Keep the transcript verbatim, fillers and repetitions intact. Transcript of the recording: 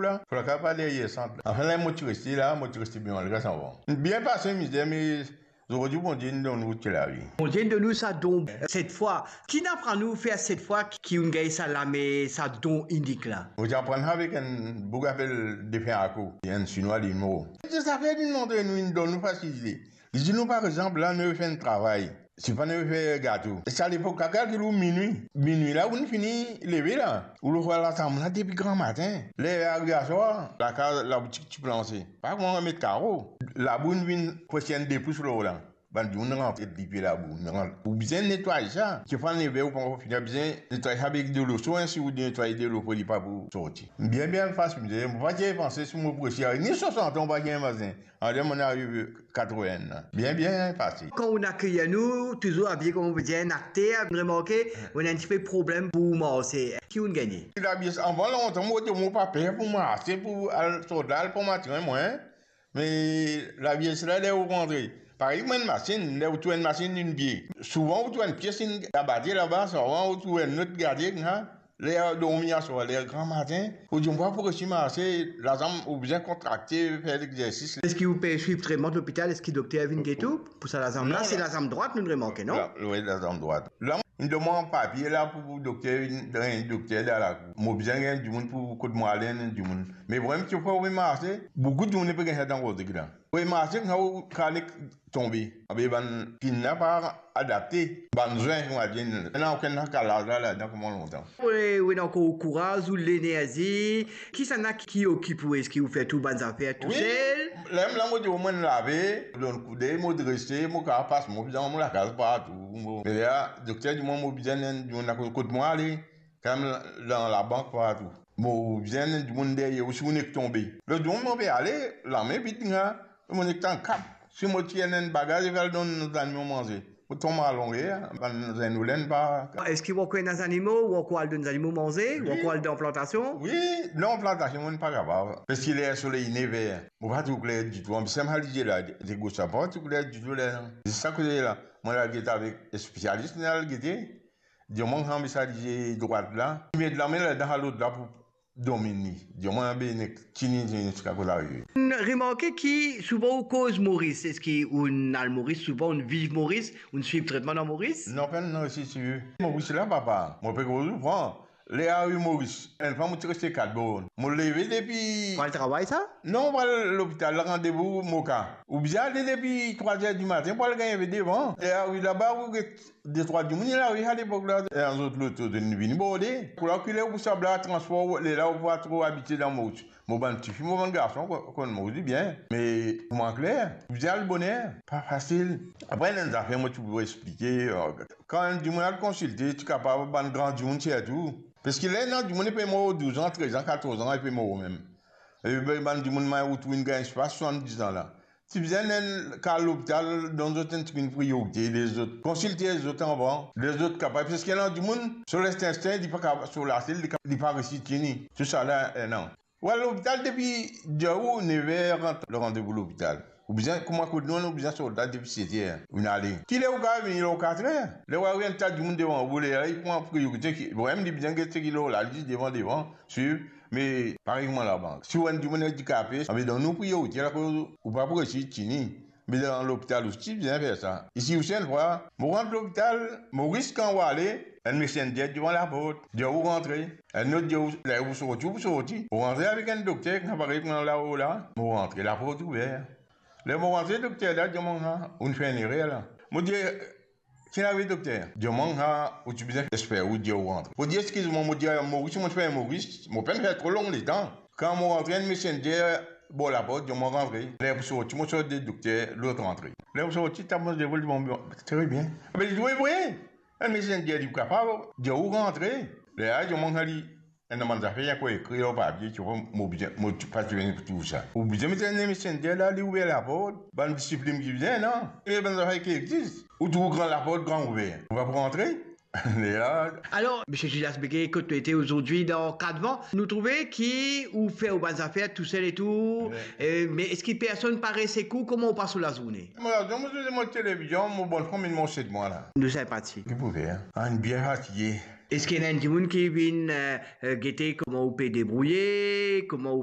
la, pou lakaz pa deryer sant la. Anfin, la, mo ti reste la, mo ti reste bien malgre sa, bon. Bien pase, mizer, me zordi, Bondie inn donn nou ti lavi. Bondie inn donn nou sa don, set fwa. Ki'nn aprann ou fer set fwa ki ou'nn gagn sa lame, sa don inik la? Mo ti aprann avek enn boug apel Defen Ako, enn Sinwa, li mo. Zafer li montre nou, inn donn nou fasilite. Li dir nou, par exanp, la, nou fer enn travay. Si pa nou fer gato. E sa lepok la, kalkil ou minwi. Minwi la, ou'nn fini leve la. Ou lor latab la depi gramatin. Ler ariv aswar, lakaz, laboutik ti planse. Pa kouma met karo. Labou inn vinn preske enn de pous lor la. Bann dimoun rantre dipie labou. Ou bizin netway sa. Ti fann leve, ou pankor fini, bizin netway sa avek delo so, si ou netway delo pou li pa pou sorti. Bien, bien fas, mizer. Mo pa ti panse si mo pou resi ariv ni swasant an, mo pa ti imazinn. Aster mo ariv katrovin an. Bien, bien pase. Kan ou'nn akeyer nou, touzour abiye kouma on pe dir enn akter, ou'nn remarke, ou'nn ena enn tipe problem pou marse. Ki ou'nn gagne? Lavies, anvan lontan, mo ti, mo pa per pou marse, pou al sort la, al pran matrin, mwa. Me lavies la, ler ou rantre, parey kouma enn masinn, ler ou tourn enn masinn enn pie. Souvan ou tourn enn pie, si enn gabari laba, souvan ou tourn enn lot gade, ha? Ler dormi aswar, ler gramatin, ou dir, mo pa pou resi marse, lazanm ou bizin kontrakte, fer lexersis. Eski ou pe swiv tretman lopital? Eski dokter vinn get ou pou sa lazanm la? Non, se la- lazanm drwat, nou remarke, non? La, wi, lazanm drwat. La, inn donn mwa papie la pou dokter, enn dokter dan lakour. Mo bizin enn dimoun pou kot mo al, enn dimoun. Me vremem, ti pou marse, boukou dimoun pe gagn sa dan kote la. Pou marse, kan ou kale tonbe. Abe bann pinn la pa adapte, bann zwin, kouma dir, ena okenn kalaz la ladan kouma lontan. Wi, ou ena ankor kouraz, ou lenerzi. Kisannla ki okip ou? Eski ou fer tou bann zafer tousel? Wi, ler la mo dir, mo lave, donn koudey, mo drese, mo kapav pas mo dan mo lakaz partou. Mo, me la, dokter dir mwa, mo bizin enn dimoun kot mo ale, kan mem dan labank partou. Mo bizin enn dimoun deryer ou si ou nek tonbe. Lot zour mo pe ale, lame vid, nga, mo nek tann kap. Si mo ti ena enn bagaz, mo al donn zanimo manze. Mo tonbe alonge, bann zenn olenn pa. Eski ou ankor ena zanimo, ou ankor al donn zanimo manze, ou ankor al dan plantasion? Wi, non, plantasion, mo pa kapav. Parski ler soley nev er, mo pa trouv kler ditou. Anplis, sa malizie la, de gos la, pa trouv kler ditou ler la. Se sa koze la. Mo al gete avek spesialis, nou al gete. Dir mwa, kan mem sa lizie drwat la, ti met lame ladan sa lot la pou dominn li. Dir mwa, be nek tini, tini ziska kot arive. Remarke ki souvan ou koz Moris, eski ou'nn al Moris souvan, ou'nn viv Moris, ou'nn swiv tretman dan Moris? Non, pena resi swiv Moris la, papa. Mo pe koz ou, pran. Ler ariv Moris, enn fwa mo ti reste kat born. Mo leve depi... Pou al travay sa? Non, pou al lopital, randevou Moka. Ou bizin ale depi trwa er dimatin pou al gagn enpe devan. Ler ariv laba, ou get detrwa dimoun, ena ariv alepok la, e zot lot, zot inn vini borde. Kouma ou kile, ou pou sab la, transpor, lerla ou pa tro abitie dan Moris. Mo bann tifi, mo bann garson, ko-, konn Moris bien. Me pou mwa kler, bizin al boner, pa fasil. Apre, ena enn zafer mo ti pou explike, kan enn dimoun al konsilte, ti kapav bann gran dimoun sirtou. Parski ler ena dimoun, li pe mor douz an, trez an, katorz an, li pe mor mem. E be, bann dimoun, ma ou trouv inn gagn swa swasanndiz an la. Ti bizin enn kar lopital, donn zot enn tigit priyorite, les zot, konsilte zot anvan, les zot kapav, parski ena dimoun, so lenstin, li pa kapav, so lasel, li ka-, li pa resi tini. Tousala, eh, non. Ou al lopital depi de ou, nev er, rant, le randevou lopital. Ou bizin, kouma kot nou, ou bizin sort la depi set er, ou inn ale. Kiler ou kapav vini? Lor kat er. Ler ou ariv, enn ta dimoun devan ou, lerla li pran priyorite ki, vremem, li bizin get seki lor laliz devan, devan, swiv. Me parey kouma labank. Si ou enn dimoun andikape, a, me donn nou priyorite, akoz ou pa pou resi tini. Me dan lopital osi bizin fer sa. Isi osi, enn fwa, mo rant lopital, Moris, kan ou ale, enn messenger devan laport, dir ou rantre. Enn lot dir ou, ler ou pou sorti, ou pou sorti. Ou rantre avek enn dokter, kan parey kouma lao la, mo rantre, laport ouver. Ler mo rantre, dokter la dir mwa, "Ou'nn fer enn erer la." Mo dir, "Ki'nn arive, dokter?" Dir mwa, "Ou ti bizin esper ou dir ou rantre." Mo dir, "Eskiz mwa," mo dir, "Moris, mo fer Moris, mo pa'nn fer tro long letan." Kan mo rantre, enn messenger bor laport, dir mwa, "Rantre." Ler pou sorti, mo sorti, dokter, lot rantre. Ler pou sorti, ta mo devol, dir mwa, "Tre bien." Ape li dir, "Wi, wi." Enn messenger li kapav dir ou rantre. Lerla, dir mwa, "Kan li ena bann zafer, li ankor ekrir lor papie, ti vwa, mo bizin, mo ti pa ti vini pou trouv sa." Ou bizin met enn messenger la, li ouver laport, bann disiplin ki bizin, non? E bann zafer ki existe. Ou trouv gran laport, gran ouver. Ou pa pou rantre? Lerla. Alor, misie Julias Beguet, kot to ete azordi dan Katvan, nou trouve ki ou fer ou bann zafer tousel e tou, wi, e, me eski personn pa res ek ou? Kouma ou pas ou lazourne? Mo lazourne, mo swiv mo televizion, mo bannfam inn manz set mwa la. Nou sinpatik. Ki pou fer? Ah, inn bien fatige. Eski ena enn dimoun ki vinn, eh, eh, gete kouma ou pe debrouye, kouma ou